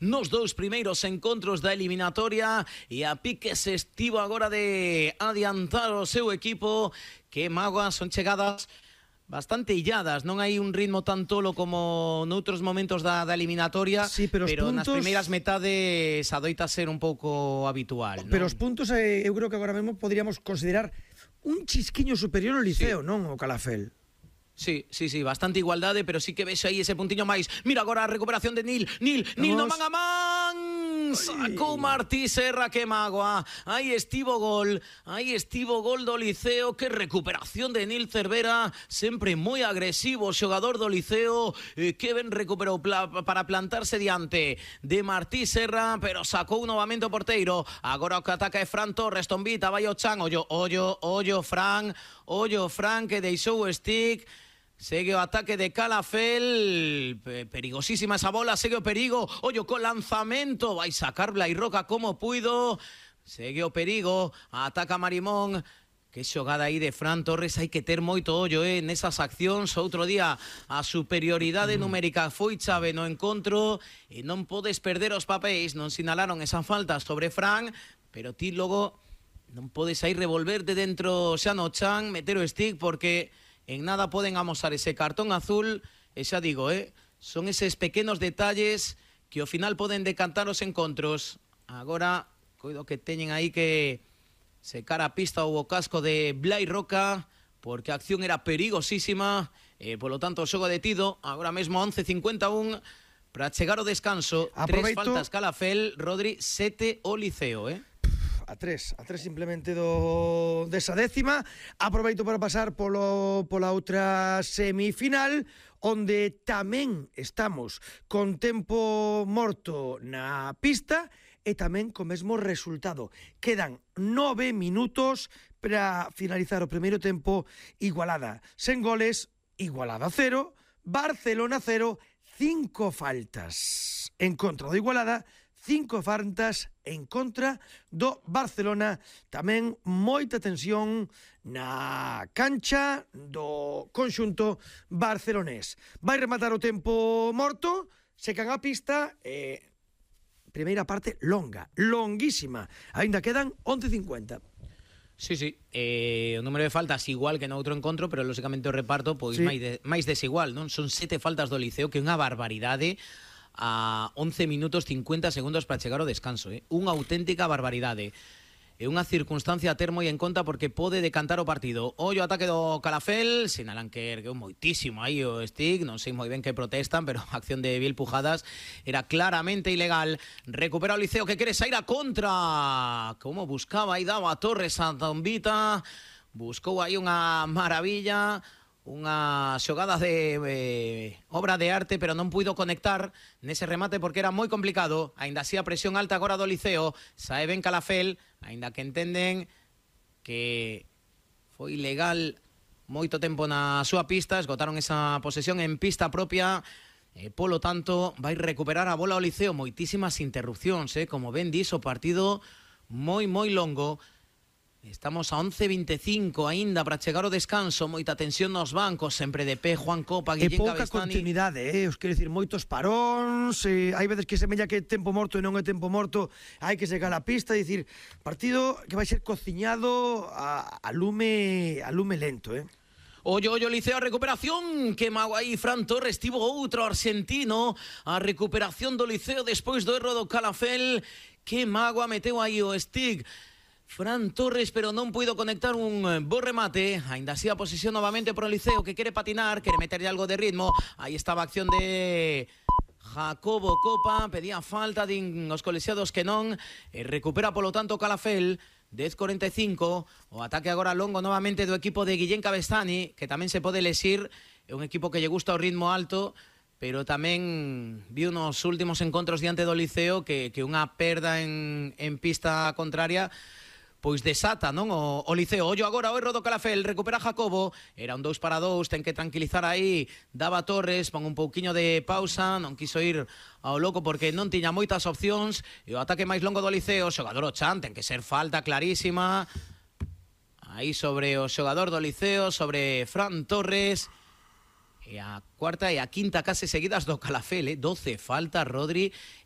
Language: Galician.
nos dous primeiros encontros da eliminatoria e a pique se estivo agora de adiantar o seu equipo. Que mágoa, son chegadas bastante illadas, non hai un ritmo tan tolo como noutros momentos da eliminatoria, sí, pero nas primeiras metades adoita ser un pouco habitual, non? Pero os puntos eu creo que agora mesmo podríamos considerar un chisquiño superior ao Liceo, sí, non o Calafel. Sí, bastante igualdade, pero sí que ves aí ese puntiño máis. Mira agora a recuperación de Nil no man a man. Sacou Martí Serra, que mágoa. Aí estivo gol do Liceo. Que recuperación de Nil Cervera, sempre moi agresivo o xogador do Liceo, que ben recuperou para plantarse diante de Martí Serra, pero sacou novamente o porteiro. Agora o que ataca é Fran Torres, tombita, vai o Chan, ollo Fran, que deixou o stick. Segue o ataque de Calafel, perigosísima esa bola, segue o perigo, ollo co lanzamento, vai sacar Blai Roca como puido, segue o perigo, ataca Marimón. Que xogada aí de Fran Torres, hai que ter moito ollo nesas accións. Outro día a superioridade numérica foi chave no encontro e non podes perder os papéis. Non sinalaron esa falta sobre Fran, pero ti logo non podes aí revolverte dentro xa no chan, meter o stick, porque en nada poden amosar ese cartón azul. E xa digo, son eses pequenos detalles que ao final poden decantar os encontros. Agora, coido que teñen aí que secar a pista o casco de Blai Roca, porque a acción era perigosísima, e polo tanto o xogo detido. Agora mesmo 11:51 para chegar o descanso. Aproveito. 3 faltas Calafel, Rodri, 7 o Liceo, A tres simplemente desa décima. Aproveito para pasar pola outra semifinal, onde tamén estamos con tempo morto na pista e tamén co mesmo resultado. Quedan 9 minutos para finalizar o primeiro tempo. Igualada sen goles, Igualada 0, Barcelona 0, 5 faltas en contra do Igualada, 5 faltas en contra do Barcelona. Tamén moita tensión na cancha do conxunto barcelonés. Vai rematar o tempo morto, secan a pista e primeira parte longuísima. Ainda quedan 11:50. Sí, o número de faltas igual que no outro encontro, pero lógicamente o reparto pois sí, máis desigual, non? Son 7 faltas do Liceo, que é unha barbaridade a 11 minutos 50 segundos para chegar ao descanso, unha auténtica barbaridade. É unha circunstancia a ter moi en conta, porque pode decantar o partido. Ollo ataque do Calafel, sinalan que ergueu moitísimo aí o stick, non sei moi ben que protestan, pero a acción de Biel Pujadas era claramente ilegal. Recupera o Liceo, que quere sair a contra. Como buscaba aí, daba a Torres a Tombita, buscou aí unha maravilla, unha xogada de obra de arte, pero non puido conectar nese remate porque era moi complicado. Ainda así a presión alta agora do Liceo. Sae ben Calafel, ainda que entenden que foi ilegal moito tempo na súa pista, esgotaron esa posesión en pista propia, polo tanto vai recuperar a bola o Liceo. Moitísimas interrupcións, como ben dis, o partido moi longo. Estamos a 11:25 aínda para chegar ao descanso. Moita tensión nos bancos, sempre de pé Juan Copa, Guillén Cabestani. E pouca continuidade, os quero dicir, moitos paróns, hai veces que semella que é tempo morto e non é tempo morto, hai que secar a pista, é dicir, partido que vai ser cociñado a lume lento, Ollo, Liceo, a recuperación. Que mago aí Fran Torres, tivo outro argentino. A recuperación do Liceo despois do erro do Calafel. Que mago meteu aí o stick Fran Torres, pero non puido conectar un bo remate. Ainda así a posesión novamente por o Liceo, que quere patinar, quere meterle algo de ritmo. Aí estaba a acción de Jacobo Copa, pedía falta, din os colexiados que non, e recupera polo tanto Calafel. 10:45, o ataque agora longo novamente do equipo de Guillén Cabestani, que tamén se pode lexir. É un equipo que lle gusta o ritmo alto, pero tamén viu nos últimos encontros diante do Liceo que unha perda en pista contraria pois desata, non, o Liceo. Ollo agora o erro do Calafel, recupera Jacobo, era un 2-2, ten que tranquilizar aí, daba Torres, pon un pouquiño de pausa, non quiso ir ao loco porque non tiña moitas opcións, e o ataque máis longo do Liceo, xogador o Chan, ten que ser falta clarísima, aí sobre o xogador do Liceo, sobre Fran Torres, E a cuarta e a quinta case seguidas do Calafel, 12 faltas, Rodri,